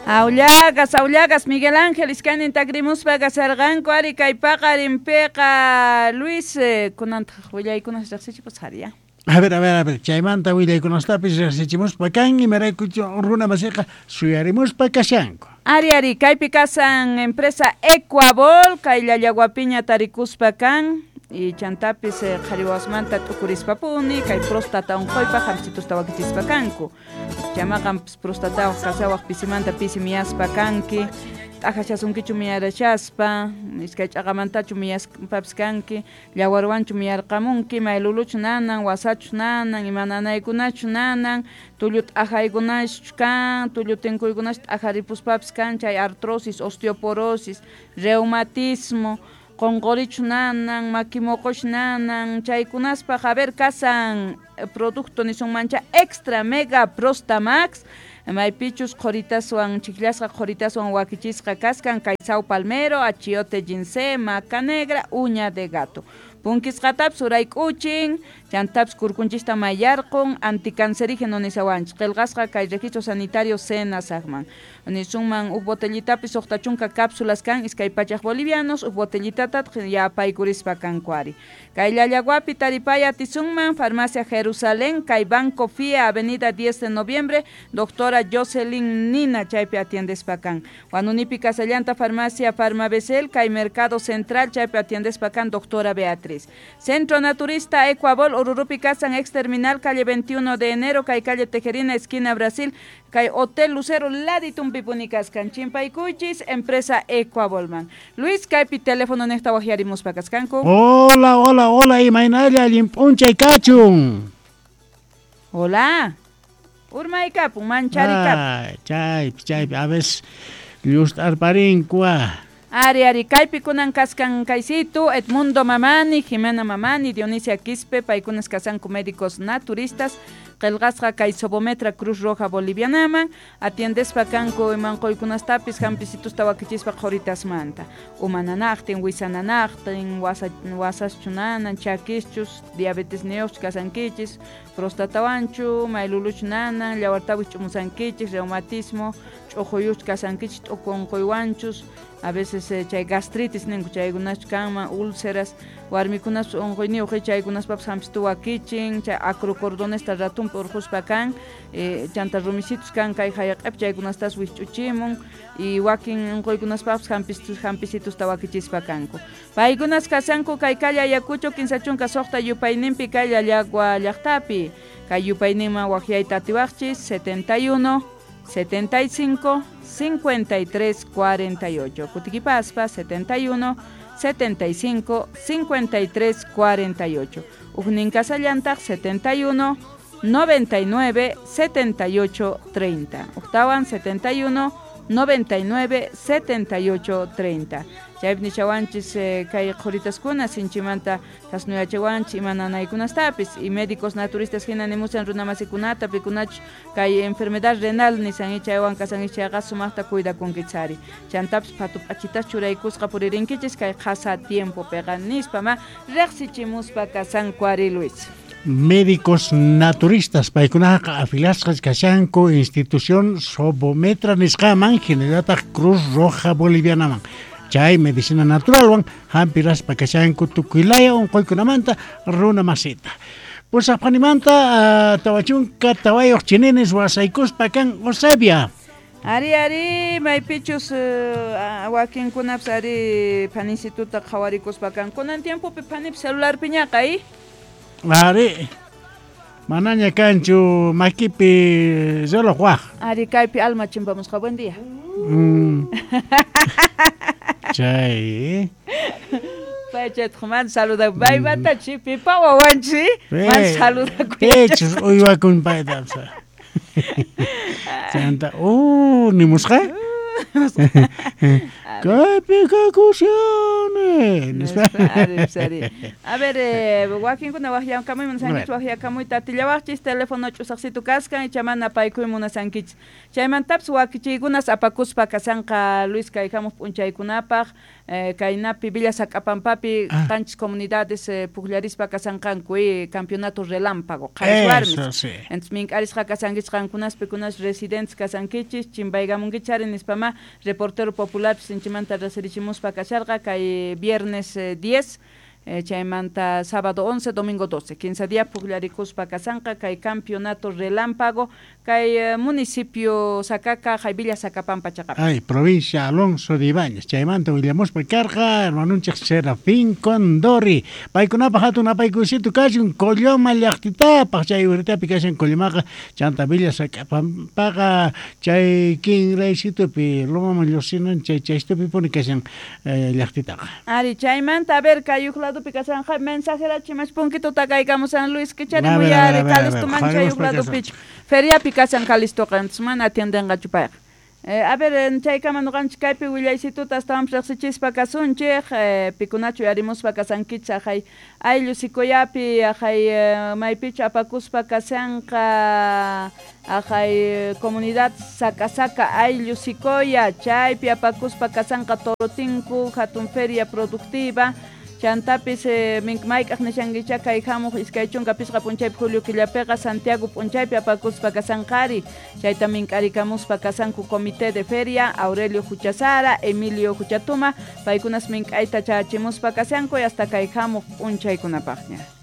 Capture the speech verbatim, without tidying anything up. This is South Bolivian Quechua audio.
Aullagas, aullagas, Miguel Ángel, iskaynin takrimuspa kasarqanku ari kay paqarinpiqa Luis, eh, kunantaq willaykunas riqsichimus ari ya. A ver, a ver, a ver, chaymanta willaykunastapis riqsichimuspa kan imaraykuchu runa masiqa suyarimuspa kashanku. Ari, ari, kaypi kasan empresa Ecuabol, kay Llallaguapiña tarikuspa kan, y chantapis eh, qhariwasmanta t'ukurispapuni, kay próstata unquypaq hampicitusta wakichispa kanku. Chamaqan prostatawaq kasawaq pisimanta pisi miyaspa kanki, t'ajachasunkichu miyarachaspa, iskay ch'aqamantachu miyaspapis kanki, llawarwanchu miyarqamunki, mayluluchu nanan, wasachu nanan, ima nanaykunachu nanan, tullu t'ajaykunachu kan, tullu tinkuykunachu t'ajaripuspapis kan, chay artrosis, osteoporosis, reumatismo, qonqorichu nanan, maki moqochu nanan, chaykunaspaq a ver kasan producto nisunmancha extra mega prostamax, maypichus qhoritaswan chiklasqa qhoritaswan wakichisqa kaskan kay sao palmero, achiote ginseng, maca negra, uña de gato. Punkisqatapis urayk'uchin, chantapis kurkunchista mayarqun, anticancerígeno nisawanchik, qillqasqa kay registro sanitario Senasaqman. Nisunman huk botellitapis suqta chunka cápsulas kan iskay pachaq bolivianos, huk botellitatataq yapaykurispa kanku ari. Kay Llallaguapi taripaya atisunman, Farmacia Jerusalén, kay Banco F I A, Avenida diez de Noviembre, doctora Jocelyn Nina chaypi atiendespa kan. Huanunipi Casallanta, Farmacia Farmabesel, kay Mercado Central chaypi atiendespa kan, doctora Beatriz. Centro Naturista Ecuabol, Ururupi Casan, ex terminal, calle veintiuno de enero, kay calle Tejerina, esquina Brasil, kay Hotel Lucero, Laditumpi Punicascan, Chimpaycuchis, empresa Ecuabolman. Luis, kaypi teléfono nesta wajiarimuspa kaskanku. Hola, hola, hola, imaynalla allinp'unchay kachun. Hola. Urmaykapun, mancharikapun. Ay, chaypi, chaypi, a veces llust'arparinkua. Ari, ari, kaypi kunan kaskan kaysitu, Edmundo Mamani, Jimena Mamani, Dionisia Quispe, paykunas kasanku médicos naturistas, qillqasqa kay Sobometra Cruz Roja Bolivianaman, atiendespa kanku imanquykunastapis hampisitusta wakichispa qhuritasmanta. Umananaqtin, wisananaqtin, wasa, wasaschu nanan, chakischus, diabetes niyuqchu kasankichis, prostatawanchu, mayluluchu nanan, llawartawis ch'umusankichis, reumatismo, ch'uquyuchu kasankichis, t'uku unquywanchus, a veces eh, chay gastritis ninku chaykunachu kanman, úlceras, warmikunas unquyniyuq chaykunaspapis hampistu wakichin, chay acrocordonesta ratumpi urquspa kan, eh, chanta rumisitus kan kay hayaq'api chaykunastas wisch'uchimun, y wakin unquykunaspapis hampistus hampisitusta wakichispa kanku. Paykunas kasanku kay calle Ayacucho kinsa chunka suqta yupayninpi kay Llallagua llaqtapi, kay yupayninman waqyayta atiwaqchis setenta y uno, setenta y cinco, cincuenta y tres, cuarenta y ocho. Kutiquipaspa setenta y uno, setenta y cinco, cincuenta y tres, cuarenta y ocho. Ujnin Casallantaq setenta y uno, noventa y nueve, setenta y ocho, treinta. Octawan setenta y uno, noventa y nueve, setenta y ocho, treinta. Chaypi nichawanchis eh, kay qhuritaskuna sinchimanta tasnuyachiwanchis imananaykunastapis y médicos naturistas hina nimusan runamasikunata pikunach kay enfermedad renal nisan chaywan kasan chayqa sumaqta cuidakunkichari chantapis phatu p'achitas churaykusqa puririnkichis kay qhasa tiempopiqa nispa ma riqsichimuspa kasanku ari Luis. Médicos naturistas paykunaqa afilasqas kashanku institución Sobometra nisqaman hinallataq Cruz Roja Bolivianaman. Chay medicina naturalwan hampiraspa kashanku tukuylaya unquykunamanta runa masita. Pusaqpanimanta uh, tawachunka tawayuq chininis wasaykuspa kan Eusebia. Ari, ari, maypichus uh, wakinkunapis ari panisituta qhawarikuspa kan. Kunan tiempopi panip celularpiñaqa, eh? Ari, manaña kanchu makipi reloj waj. Ari, kaypi alma chimpamusqa, buen día. Mm. Chay. Paychatqa man saluda. Baymanta chipipa wawanchi. Man saluda. Pechus uywakun payta. Chanta, oh, nimusqa? Kaypi kakushani. Nispa. A ver, eh, wakinkuna waqyakamuy munasankichis, waqyakamuyta atillawaqchis, teléfono ch'usaqsitu kaskan, icha mana paykuy munasankichis. Chaymantapis wakichiykunas apakuspa kasanqa Luis kay hamuq p'unchaykunapaq, eh, kaynapi Villa Sac'apampapi Ah. qanchis comunidades eh, pukllarispa kasanqanku eh, campeonato relámpago qharis warmis. Eso sí. Entonces mink'arisqa kasankichis qankunas pikunas residentes kasankichis, chimpaykamunkichis ari nispama reportero popular sinchimanta reserichimuspa kasharqa kay viernes eh, diez, eh, chaymanta sábado once, domingo doce, quince día pukllarikuspa kasanqa kay campeonato relámpago kay eh, municipio Sacaca, hay Villa Sacapampa chaqapi. Ay, provincia Alonso de Ibáñez. Chaymanta willamuspa karqa hermanunchik Serafín Condori. Paykunapaq hatun apaykusitu kachun Colloma llaqtitapaq chay uritapi kashan Collomaqa chanta Villa Sacpampaqa chay kinraysitupi lomaman lluqsinan chay chaystupi puni kashan eh, llaqtitaqa. Ari, chaymanta, a ver, kay uj ladopi kasanja mensajera chimash punkito takaykamu San Luis kichari A ver, a ver, muyari a ver, a ver, Calisto man chay uj qharimuspa kashan. ladopichu. Feriapi kasan Calistoqa, entonces mana atiendenqachu payqa. Eh, a ver, en chaykama nuqanchik kaypi willaysituta astawan riqsichispa kasunchik, eh, pikunachu yarimuspa kasankichis ajay ayllu sikoyapi, ajay eh, maypichu apakuspa kasanqa, ajay eh, comunidad Sacasaca ayllu sikoya, chaypi apakuspa kasanqa Torotinku, hatun feria productiva, chantapis eh, mayk'aq nishankicha kay hamuq iskay chunka pisqa p'unchaypi julio killapiqa Santiago p'unchaypi apakuspa kasanqari, chayta mink'arikamuspa kasanku comité de feria Aurelio Juchasara, Emilio Juchatuma, paykunas mink'ayta chachimuspa kasanku y hasta kay hamuq p'unchaykunapaqña.